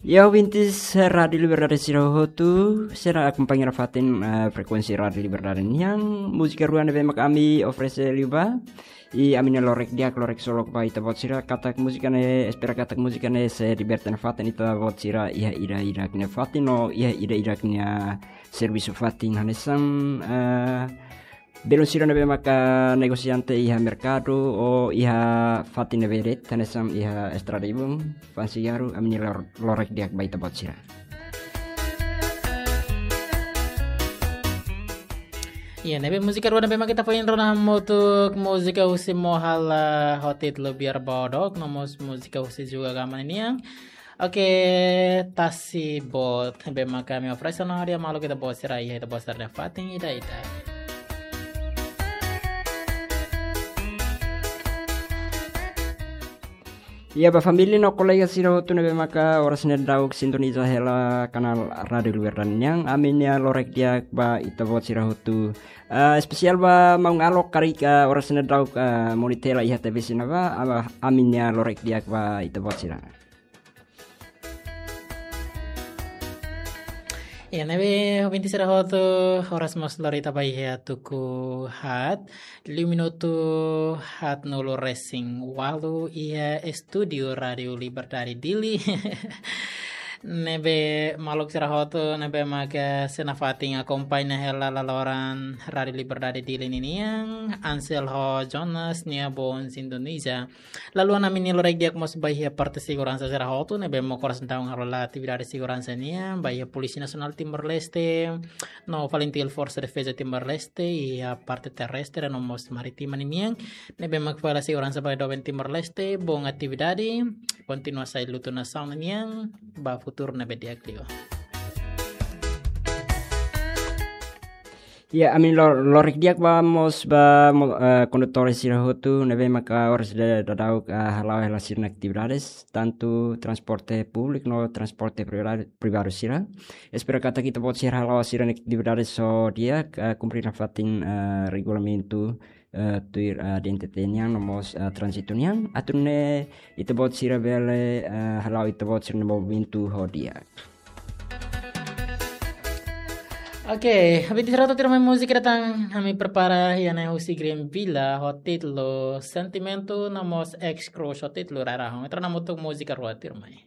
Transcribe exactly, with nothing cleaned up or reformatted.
Ya, ouvintes, eh, Rádiu Liberdade sira hotu, sira akompaña nafatin, eh, frekuénsia Rádiu Liberdade nian, múzika rua ne'ebé mak ami oferese liubá, i ami-nia lorek di'ak, lorek solok ba ita-boot sira, katak múzika ne'e, espera katak múzika ne'e sei liberte nafatin ita-boot sira iha ida-idak nia fatin, no iha ida-idak nia servisu fatin hanesan, eh, belun sira ne'ebé maka negosiante iha merkadu ou iha fatin ne'ebé de'it, hanesan iha estrada ibun, fa'an sigarru, ami-nia lor-, lorek di'ak ba ita-boot sira. Iya, ne'ebé múzika rua ne'ebé mak ita foin rona hamutuk múzika husi Mohala ho títulu Biar Bodoh, no mós múzika husi Juga Gama ninian. Oke, Tasi Boot, ne'ebé maka ami oferese ona hadi'a maluk ita-boot sira iha ita-boot sira-nia fatin ida-idak. Iya, ba família no kolega sira hotu ne'ebé maka oras ne'e daudauk sintoniza hela kanál Rádiu Liberdade nian, ami-nia lorek di'ak ba ita-boot sira hotu. Ah, espesiál ba maun Alok karik, ah, oras ne'e daudauk, ah, monitor hela iha T V sira ne'ebá, ah, ami-nia lorek di'ak ba ita-boot sira. Ya, ne'ebé, ouvintes sira hotu, oras mós lori ita ba iha tuku haat, liu minutu haatnulu resin ualu iha estúdiu Rádiu Liberdade Dili. Ne'ebé maluk sira hotu, ne'ebé maka sei nafatin akompaña hela laloran Rádiu Liberdade Dili ninian, Ansel ho Jonas nia boon sintoniza. Lalu ami-nia lorek di'ak mós ba iha parte seguransa sira hotu, ne'ebé mak oras ne'e daudaun halo atividade seguransa nian, ba iha Polísia Nasionál Timor-Leste, no FALINTIL, Forsa Defeza Timor-Leste, iha parte terrestre no mós marítima ninian, ne'ebé mak fó hela seguransa ba doben Timor-Leste, boon atividade, kontinua sai lutu nasaun nian, ba futuru ne'ebé di'ak liu. Ya, ami-nia lo-, lorek di'ak ba mós ba mo-, eh, kondutór sira hotu, ne'ebé maka oras ne'e daudauk, eh, hala'o hela sira-nia atividades, tantu transporte públiku no transporte privadu, privadu sira. Espera katak ita-boot sira hala'o sira-nia atividades ho di'ak, eh, kumpre nafatin, eh, regulamentu, eh, tuir, eh, D N T T nian, no mós, eh, tránzitu nian, atu nune'e ita-boot sira bele, eh, hala'o ita-boot sira-nia movimentu ho di'ak. Oke, habis diserah tuirmai múzika datang, ami prepara iha ne'e husi Green Villa, ho títulu Sentimentu, no mós Ex Cruz, ho títulu Rarahun. Ita rona hamutuk múzika rua tuirmai.